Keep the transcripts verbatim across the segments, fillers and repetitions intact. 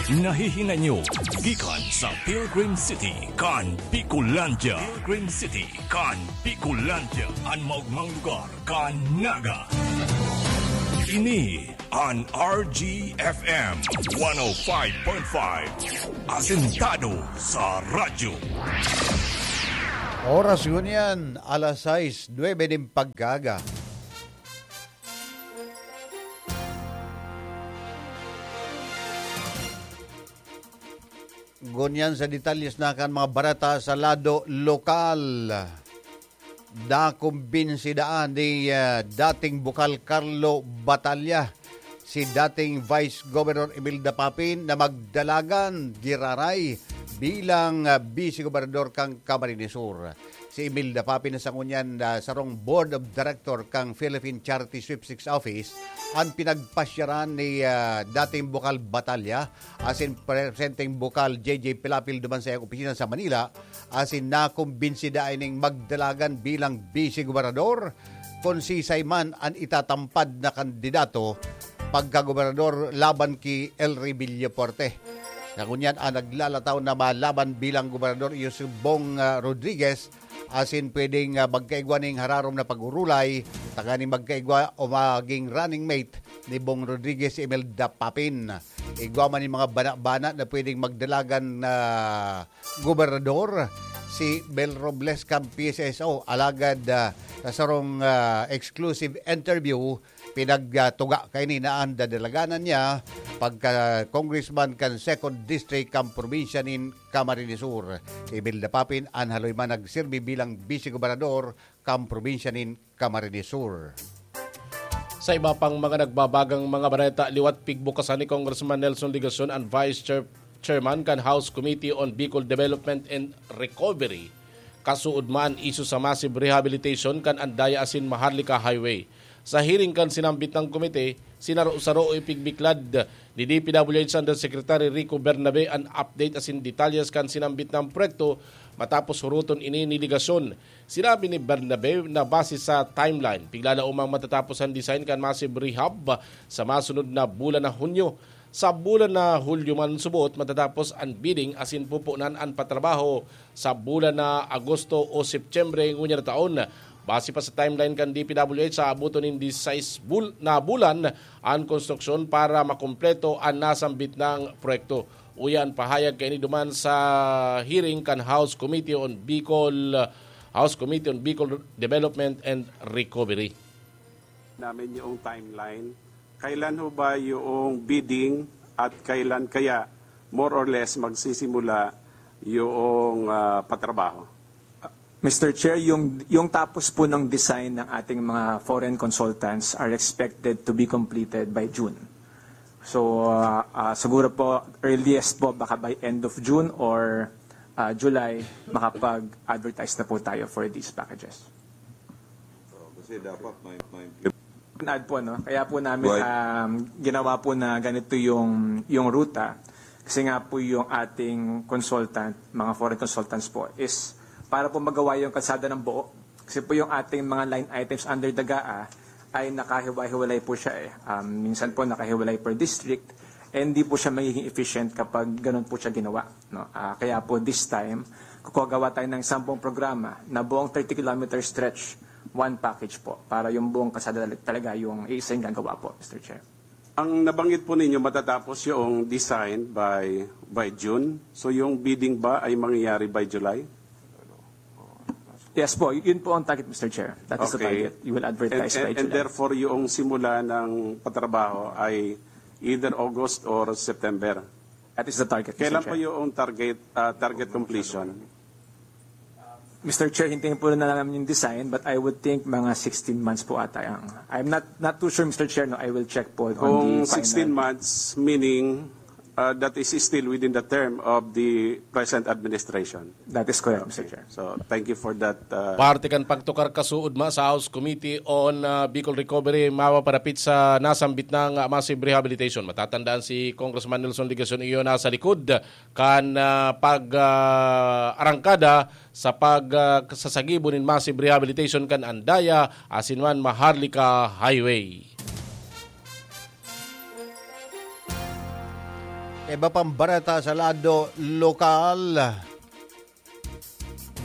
Nahihinay nyo gikan sa Pilgrim City kan Bicolandia. Pilgrim City kan Bicolandia, an maogmang lugar kan Naga. Ini an R G F M one oh five point five, asentado sa radyo. Oras ngunyan, alas sais nuebe nin pagkaaga. Ngunyan sa detalyes na kan mga bareta sa lado lokal. Nakumbinsi daan ni, ah, dating bukal Carlo Batalla si dating Vice Governor Imelda Papin na magdalagan giraray bilang, ah, Vice Gobernador kan Camarines Sur. Si Imelda Papin sa ngunyan, ah, sarong Board of Director kan Philippine Charity Sweepstakes Office, an pinagpasyaran ni, ah, dating bukal Batalla asin presenteng bukal J J Pilapil duman sa iyang opisina sa Manila, asin nakumbinsi dai ning magdalagan bilang Vice Gobernador, kun sisay man an itatampad na kandidato pagkagobernador laban ki Elry Villafuerte. Sa ngunyan, an naglalataw na malaban bilang gobernador iyo si Bong, ah, Rodriguez, asin pwedeng, ah, magkaigwa ning hararom na pag-urulay, tanganing magkaigwa o maging running mate ni Bong Rodriguez si Imelda Papin. Igwa man nin mga bana-bana na pwedeng magdalagan na gobernador, si Mel Robles kan P S S O. Alagad, ah, sa sarong, ah, exclusive interview, pinagtuga kaini na an dadalaganan niya pagka congressman kan Second District kan probinsya nin Camarines Sur. Si Imelda Papin an haloy man nagsirbi bilang Vice Gobernador kan probinsya nin Camarines Sur. Sa iba pang mga nagbabagang mga bareta, liwat pigbukasan ni Congressman Nelson Legacion an Vice Chair-, Chairman kan House Committee on Bicol Development and Recovery, kasuodma an isyu sa massive rehabilitation kan Andaya asin Maharlika Highway. Sa hearing kan sinambit na komite, sinaro-saro o ipigbiklad ni D P W H Undersecretary Rico Bernabe an update asin detalyes kan sinambit na proyekto matapos huruton ini ni Legacion. Sinabi ni Bernabe na base sa timeline, piglalaomang matatapos an design kan massive rehab sa masunod na bulan na Hunyo. Sa bulan na Hulyo man subot matatapos an bidding asin pupunan an patrabaho sa bulan na Agosto o Setyembre ngunyan na taon. Base pa sa timeline kan D P W H, sa abuton nin disais bul-, na bulan an konstruksyon para makumpleto an nasambit na proyekto. Uya an pahayag kaini duman sa hearing kan House Committee on Bicol, House Committee on Bicol Development and Recovery. Namin yung timeline. Kailan ho ba yung bidding at kailan kaya more or less magsisimula yung, ah, patrabaho? Mister Chair, yung, yung tapos po ng design ng ating mga foreign consultants are expected to be completed by June. So, ah, ah, siguro po, earliest po, baka by end of June or, ah, July, makapag-advertise na po tayo for these packages. So, kasi dapat may, may Add po, no? Kaya po namin, Right. um, ginawa po na ganito yung, yung ruta. Kasi nga po yung ating consultant, mga foreign consultants po, is para po magawa yung kalsada ng buo. Kasi po yung ating mga line items under the GAA ay nakahiwa-hiwalay po siya eh. Um, minsan po nakahiwalay per district, and hindi po siya magiging efficient kapag ganun po siya ginawa, no? Ah, kaya po this time, kukuha gawa tayo ng sampung programa na buong thirty kilometer stretch, one package po, para yung buong kalsada tal-, talaga yung iisa yung gagawa po, Mister Chair. Ang nabanggit po ninyo, matatapos yung design by, by June. So, yung bidding ba ay mangyayari by July? Yes po, y-, yun po ang target, Mister Chair. That is the Okay. target. You will advertise And, by and, and July. therefore, yung simula ng patrabaho ay either August or September. That is the target, Mister Kailan Chair. po yung target, ah, target completion? Mister Chair, hintayin po na namin yung design, but I would think mga sixteen months po ata ang, I'm not, not too sure, Mister Chair, no? I will check po on Kung the final. sixteen months, meaning, uh, that is still within the term of the present administration. That is correct, Mister Okay. Chair. So, thank you for that, uh, Parte kan pagtukar kasuodma sa House Committee on, uh, Bicol Recovery, mapaparapit sa nasambit na massive rehabilitation. Matatandaan si Congressman Nelson Legacion iyo nasa likod kan, ah, pag, ah, arangkada sa pag, ah, sa sagibo nin massive rehabilitation kan Andaya asin man Maharlika Highway. Iba pang bareta sa lado lokal,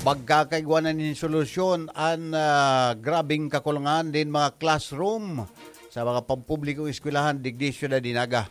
magkakaigwa na nin solusyon an, ah, grabeng kakulangan nin mga classroom sa mga pampublikong eskwelahan digdi Syudad de Naga.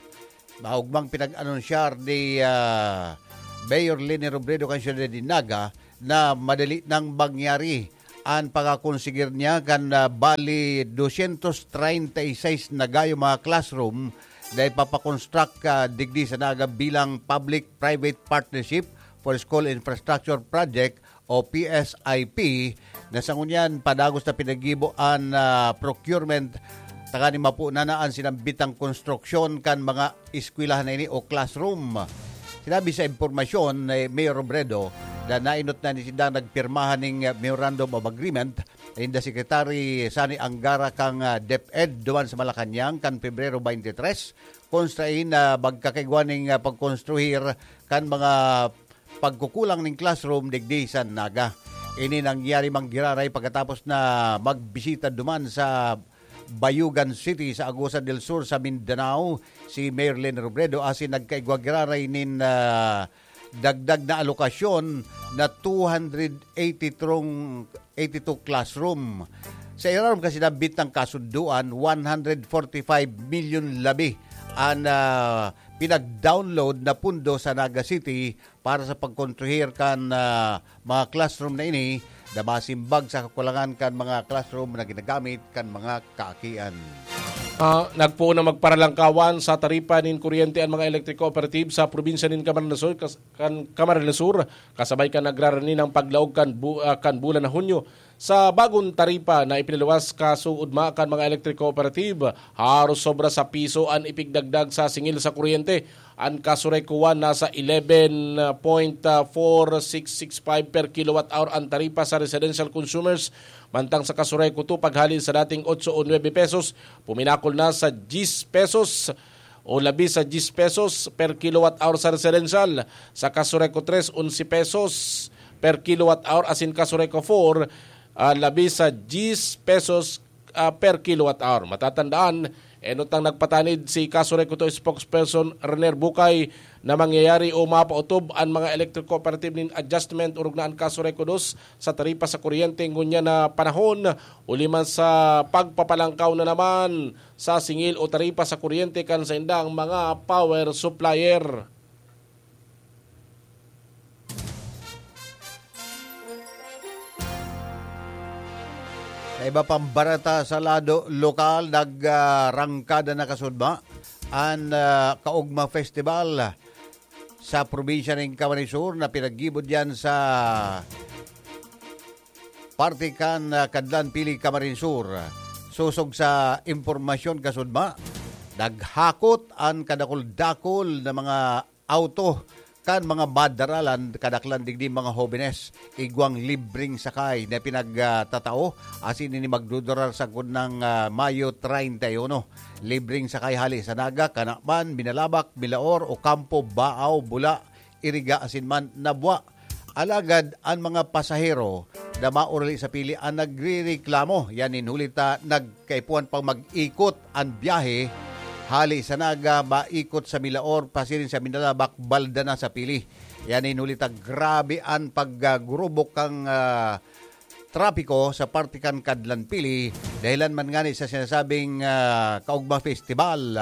Maugmang pinag-anunsyar ni, ah, Mayor Leni Robredo kan Syudad de Naga na madali nang mangyari an pagkakonsigir niya kan, ah, bali dosyentos treinta y seis na gayo mga classroom na ipapakonstruct, ah, digdi sa Naga bilang Public-Private Partnership for School Infrastructure Project o P S I P, na sa ngunyan padagos na pinaggibo an, ah, procurement tanganing mapunan na an sinambitang konstruksyon kan mga eskwelahan na ini o classroom. Sinabi sa impormasyon ni Mayor Robredo na nainot na ni sindang nagpirmahan ning Memorandum of Agreement in the Secretary Sani Angara kan, ah, DepEd duman sa Malacañang kan Pebrero twenty-three, kung sain na magkakaigwa ning, ah, pagkonstruhir kan mga pagkukulang ning classroom digdi sa Naga. Ini nangyari man giraray pagkatapos na magbisita duman sa Bayugan City sa Agusan del Sur sa Mindanao si Mayor Leni Robredo asin nagkaigwa giraray nin, ah, dagdag na alokasyon na two hundred eighty-two, eighty-two classroom. Sa irarom kasi nabit ng kasunduan, one hundred forty-five million labi an, ah, pinag-download na pundo sa Naga City para sa pagkonstruhir kan, ah, mga classroom na ini na masimbag sa kakulangan kan mga classroom na ginagamit kan mga kaakian. Ah, nagpoon na magparalangkawan sa taripa nin kuryente an mga electric cooperative sa probinsya nin Camarines Sur, kas-, kan Camarines Sur, kasabay kan nagrarani ng paglaog kan bu-, ah, kan bulan na Hunyo. Sa bagong taripa na ipinaluwas kasuodma kan mga electric cooperative, haros sobra sa piso an ipigdagdag sa singil sa kuryente. An Casureco one nasa eleven point four six six five per kilowatt hour an taripa sa residential consumers, mantang sa Casureco two paghali sa dating otso o nuebe pesos, puminakol na sa diyes pesos o labi sa diyes pesos per kilowatt hour sa residential. Sa Casureco tres, onse pesos per kilowatt hour, asin Casureco four, ah, labi sa diyes pesos, ah, per kilowatt hour. Matatandaan, enot nang nagpatanid si Casureco two spokesperson Rener Bucay na mangyayari o mapaotob an mga electric cooperative nin adjustment orog na an Casureco dos sa taripa sa kuryente ngunyan na panahon, huli man sa pagpapalangkaw na naman sa singil o taripa sa kuryente kan saindang mga power supplier. Sa iba pang bareta sa lado lokal, nagrangkada na kasudma an, ah, Kaugma Festival sa probinsya nin Camarines Sur na pinaggibo diyan sa parte kan, ah, Kadlan Pili, Camarines Sur. Sosog sa impormasyon kasudma, naghakot an kadakul-dakul na mga auto kan mga madaralan, kadaklan digdi mga hobenes, igwang libreng sakay na pinagtatao, asin ini magdudurar sagkod ng, ah, Mayo treinta y uno. Libreng sakay hali sa Naga, Canaman, Minalabac, Milaor, Ocampo, Baao, Bula, Iriga, asin man Nabua. Alagad an mga pasahero na maurali sa Pili an nagrereklamo. Yan nin huli ta nagkaipuhan pang mag-ikot an biyahe hali sa Naga, maikot sa Milaor, pasiring sa Minalabac, balda na sa Pili. Yan nin huli ta grabe an paggurubok kan, ah, trapiko sa parte kan Kadlan Pili, dahilan man ngani sa sinasabing, ah, Kaugma Festival.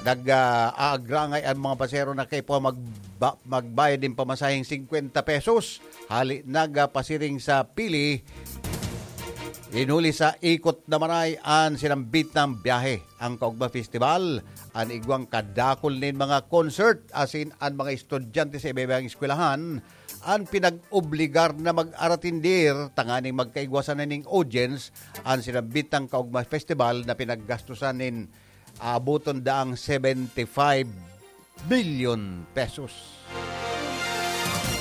Nag, ah, aagrangay an mga pasahero na kaipuhan magba-, magbayad nin pamasaheng singkwenta pesos hali Naga pasiring sa Pili. Inuli sa ikot na maray an sinambit na biyahe. Ang Kaugma Festival, an igwang kadakul nin mga concert, asin an mga estudyante sa iba-ibang eskwelahan, an pinag-obligar na mag-aratindir tanganing magkaigwa sana nin audience an sinambit na Kaugma Festival na pinaggastusan nin aaboton daang seventy-five billion pesos.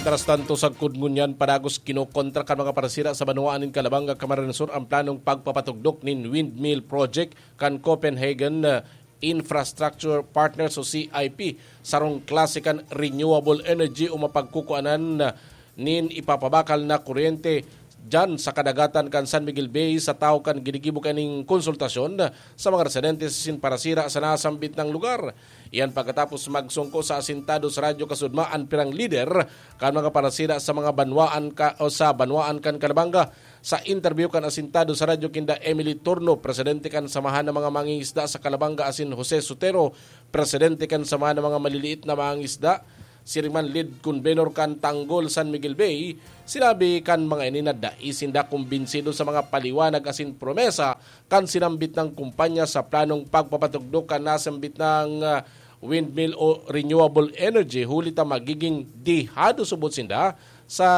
Mientras tanto, sagkod ngunyan, padagos kinokontra kan mga parsira sa banwaan nin Calabanga, Camarines Sur, ang planong pagpapatugdok nin windmill project kan Copenhagen, uh, Infrastructure Partners o C I P, sarong klase kan renewable energy o mapagkukuanan, uh, nin ipapabakal na kuryente Diyan sa kadagatan kan San Miguel Bay sa tawo kan ginigibo kaning konsultasyon sa mga residente sa sin parasira sa nasambit na lugar. Iyan pagkatapos magsungko sa Asintado sa Radyo Kasudma an pirang lider kan mga parasira sa mga banwaan ka, o sa banwaan kan Calabanga. Sa interview kan Asintado sa Radyo kinda Emily Turno, presidente kan Samahan ng mga Mangingisda sa Calabanga, asin Jose Sotero, presidente kan Samahan ng mga Maliliit na Mangingisda, siring man lead convenor kan Tanggol San Miguel Bay, sinabi kan mga ini na dai sinda kumbinsido sa mga paliwanag asin promesa kan sinambit na kumpanya sa planong pagpapatugdok kan nasambit na, ah, windmill o renewable energy, huli ta magiging dehado subot sinda sa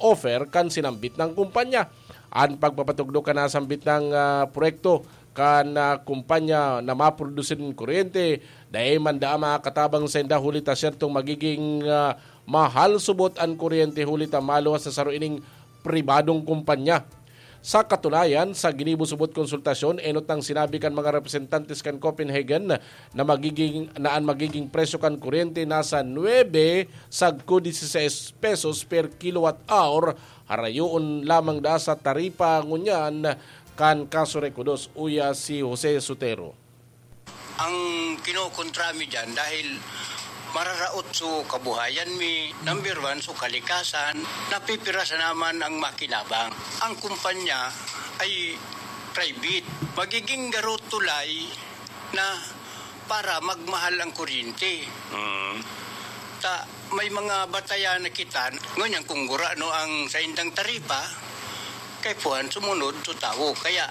offer kan sinambit na kumpanya. An pagpapatugdok kan nasambit na, ah, proyekto kan, ah, kumpanya na maprodusir nin kuryente, dai man daa makakatabang sainda, huli ta siyertong magiging, ah, mahal subot an kuryente, huli ta maluwas na saro ining pribadong kumpanya. Sa katunayan, sa ginibo subot konsultasyon, enot nang sinabi kan mga representantes kan Copenhagen na magiging, na an magiging presyo kan kuryente nasa nuebe sagko dieciséis pesos per kilowatt hour, harayoon lamang daa sa taripa ngunyan kan Casureco dos, uya si Jose Sotero. Ang kinokontra mi diyan dahil mararaot so kabuhayan mi, number one, so kalikasan, napipira sana man ang makinabang. Ang kumpanya ay private. Magiging garo tulay na para magmahal ang kuryente. Mm. Ta, may mga batayan na kita, ngunyan kung gurano ang saindang taripa, kaipuhan sumunod so tawo. Kaya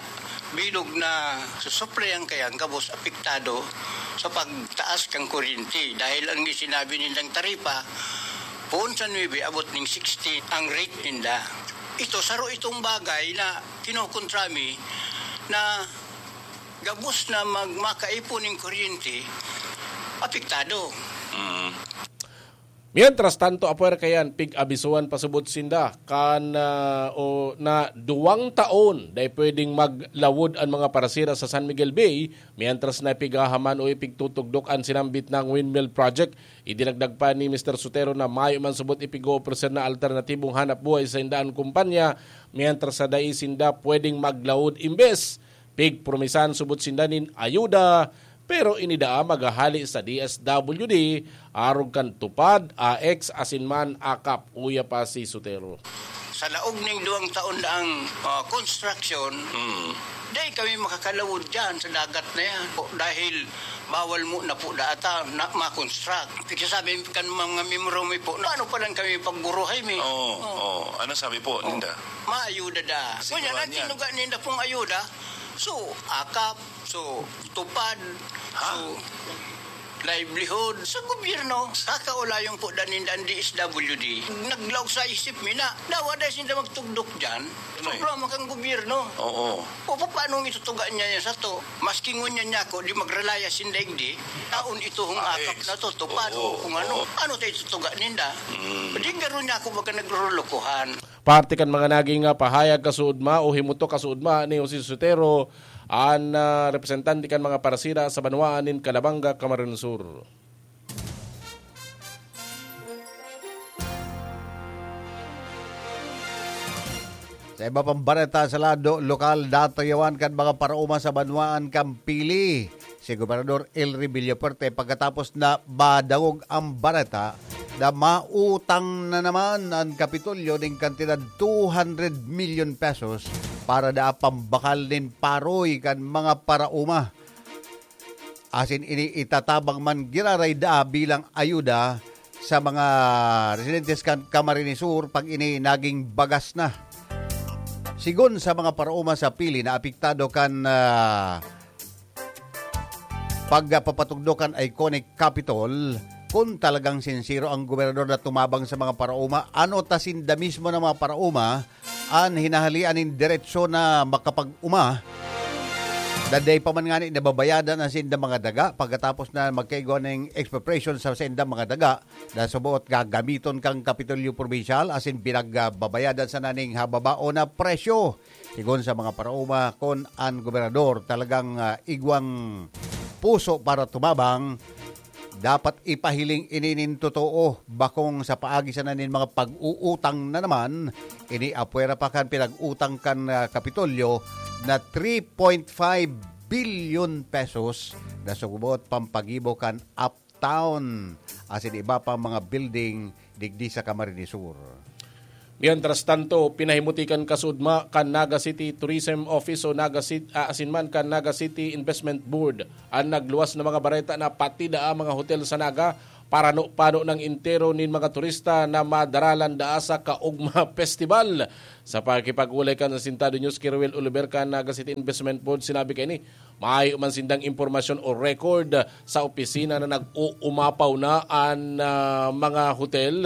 bilog na susuplayan kaya ang gabos apektado sa pagtaas kan kuryente. Dahil ang sinabi nilang taripa, poon sa nuebe abot ning sixty ang rate ninda. Ito, saro itong bagay na kinokontra mi na gabos na mag-, makaipon ning kuryente, apektado. Mm. Mientras tanto, apwera kayan, pig-abisohan pasubot sinda kan, ah, o na duwang taon dai pwedeng maglawod an mga parasira sa San Miguel Bay, mientras na ipighahaman o ipigtutugdok an sinambit na windmill project. Idinagdag pa ni Mister Sotero na mayo man subot ipig-oofreser na alternatibong hanap buhay sa indaan kumpanya, mientras sa dai sinda pwedeng maglawod imbes pigpromisahan subot sinda nin ayuda, pero ini daa maghahali sa D S W D, arog kan TUPAD, A X, asin man AKAP, uya pa si Sotero. Sa laog ning duwang taon na ang, ah, construction, Mm. dai kami makakalawod dyan sa dagat na yan. O, dahil bawal mo na po data na ma-construct. Pagkasabi kan mga miyembro mi po, na ano pa lang kami pagburuhay mi. Oo, Oo. oo. Ano sabi po, Oo. Ninda? Maayuda da. Siguro Ngunyan, ang yan. tinuga ninda pong ayuda, so, akap, so, tupad, Ha? so, livelihood, sa gobyerno. Kakaulayon po da ninda ang D S W D. Naglaog sa isip mi na, dawa dahil sinda magtugdok dyan, Ano eh? problema kang gobyerno. Oo. O, paano itutuga niya yan sa to? Maski ngunyan niya ako, di magrelaya sinda igdi, taon ito hong Ah, akap eh. na to, tupad, Oo, o kung ano. oo. Ano tayo itutuga ninda? Mm. Di garo niya ako baga naglulukuhan. Parte kan mga naging, ah, pahayag kasuodma o himutok kasuodma ni Jose Sotero, an, ah, representante kan mga parasira sa banwaan nin Calabanga, Camarines Sur. Sa iba pang bareta sa lado lokal, datayawan kan mga paraoma sa banwaan kan Pili si Gobernador Elry Villafuerte pagkatapos na madangog ang bareta na mautang na naman an Kapitolyo ning kantidad two hundred million pesos para daa pambakal nin paroy kan mga paraoma. Asin ini itatabang man giraray daa bilang ayuda sa mga residentes kan Camarines Sur pag ini naging bagas na. Sigon sa mga paraoma sa Pili na apektado kan, ah, pagpapatugdok kan iconic Capitol, kun talagang sinsero ang gobernador na tumabang sa mga paraoma, ano ta sinda mismo na mga paraoma an hinahalian nin diretsyo na makapag-oma, danday pa man ngani nababayadan an saindang mga daga, pagkatapos na magkaigwa nin expropriation sa saindang mga daga, na suboot gagamiton kan Kapitolyo Probinsyal asin pinagbabayadan sana ning hababao na presyo. Sigon sa mga paraoma, kun an gobernador talagang, ah, igwang puso para tumabang, Dapat ipahiling ini nin totoo, bakong sa paagi sana nin mga pag-uutang na naman, ini apwera pa kan pinag-utang kan, ah, Kapitolyo na three point five billion pesos na subot pampagibo kan Uptown asin iba pang mga building digdi sa Camarines Sur. Mientras tanto, pinahimuti kan kasudma kan Naga City Tourism Office o Naga City, asin man kan Naga City Investment Board an nagluwas na mga bareta na pati daa mga hotel sa Naga parano-pano nang entero nin mga turista na madaralan daa sa Kaugma Festival. Sa pakikipag-olay kan Asintado News, Kiruel Oliver kan Naga City Investment Board, sinabi kaini, mayo man sindang impormasyon o record sa opisina na nag-uumapaw na an, ah, mga hotel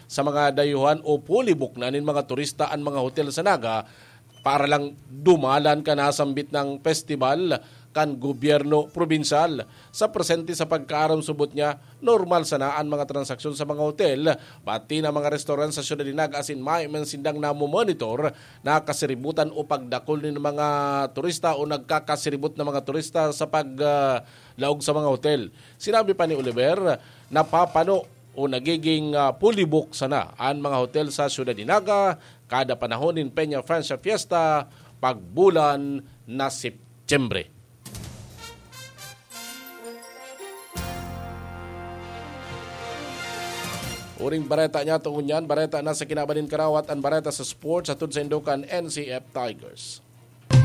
sa mga dayuhan o fully book na nin mga turista an mga hotel sa Naga para lang dumalan kan nasambit na festival kan gobyerno probinsyal. Sa presente sa pagkaaram subot niya, normal sana an mga transaksyon sa mga hotel, pati na mga restaurant sa siyudad ni Naga asin mayo man sindang namomonitor na kasiributan o pagdakul nin mga turista o nagkakasiribot na mga turista sa pag, ah, laog sa mga hotel. Sinabi pa ni Oliver, napapano o nagiging, ah, fully book sana an mga hotel sa siyudad ni Naga kada panahon nin Peña Francia Fiesta pagbulan na Setyembre. Uring bareta niya, tungod niyan, bareta na sa kinaban nin karawat, an bareta sa sports, hatod sa Indokan N C F Tigers.